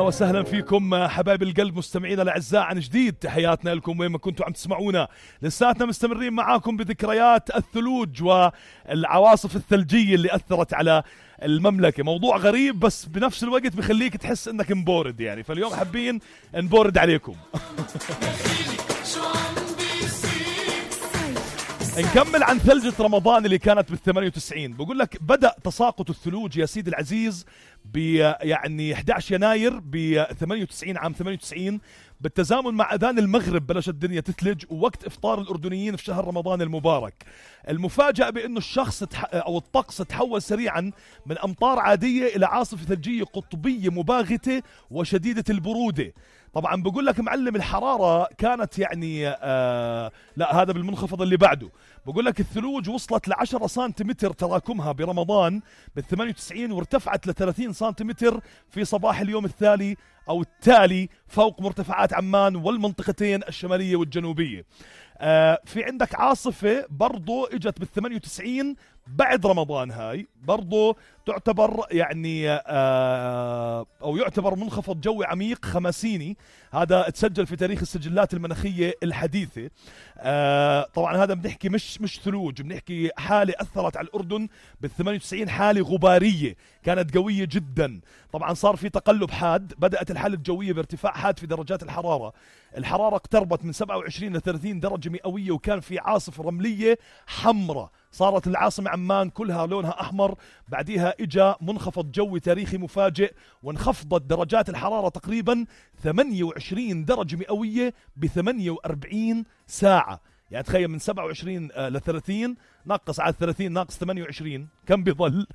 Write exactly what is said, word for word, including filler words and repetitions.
وسهلا فيكم حبايب القلب مستمعينا الاعزاء عن جديد. تحياتنا لكم وين ما كنتوا عم تسمعونا. لساتنا مستمرين معاكم بذكريات الثلوج والعواصف الثلجيه اللي اثرت على المملكه. موضوع غريب بس بنفس الوقت بخليك تحس انك مبورد يعني، فاليوم حابين نبورد عليكم. نكمل عن ثلجة رمضان اللي كانت بالثمانية وتسعين. بقول لك بدأ تساقط الثلوج يا سيدي العزيز ب يعني أحد عشر يناير ب ثمانية وتسعين عام ثمانية وتسعين، بالتزامن مع أذان المغرب بلشت الدنيا تثلج ووقت إفطار الأردنيين في شهر رمضان المبارك. المفاجأة بأنه الشخص أو الطقس تحول سريعا من أمطار عادية إلى عاصفة ثلجية قطبية مباغتة وشديدة البرودة. طبعا بقول لك معلم الحرارة كانت يعني آه لا هذا بالمنخفض اللي بعده. بقول لك الثلوج وصلت لعشرة سنتيمتر تراكمها برمضان بالثمانية وتسعين، وارتفعت لثلاثين سنتيمتر في صباح اليوم التالي أو التالي فوق مرتفعات عمان والمنطقتين الشمالية والجنوبية. آه في عندك عاصفة برضو اجت بالثمانية وتسعين بعد رمضان، هاي برضو تعتبر يعني آه او يعتبر منخفض جوي عميق خماسيني. هذا تسجل في تاريخ السجلات المناخية الحديثة. آه طبعا هذا بنحكي مش مش ثلوج، بنحكي حالة اثرت على الاردن بالثمانية وتسعين، حالة غبارية كانت قوية جدا. طبعا صار في تقلب حاد، بدأت الحالة الجوية بارتفاع حاد في درجات الحرارة. الحرارة اقتربت من سبعة وعشرين ل ثلاثين درجة مئوية، وكان في عاصفة رملية حمراء. صارت العاصمة عمان كلها لونها أحمر. بعديها إجا منخفض جوي تاريخي مفاجئ وانخفضت درجات الحرارة تقريبا ثمانية وعشرين درجة مئوية ب ثمانية وأربعين ساعة. يعني تخيل من سبعة وعشرين ل ثلاثين ناقص على ثلاثين ناقص ثمانية وعشرين كم بيظل؟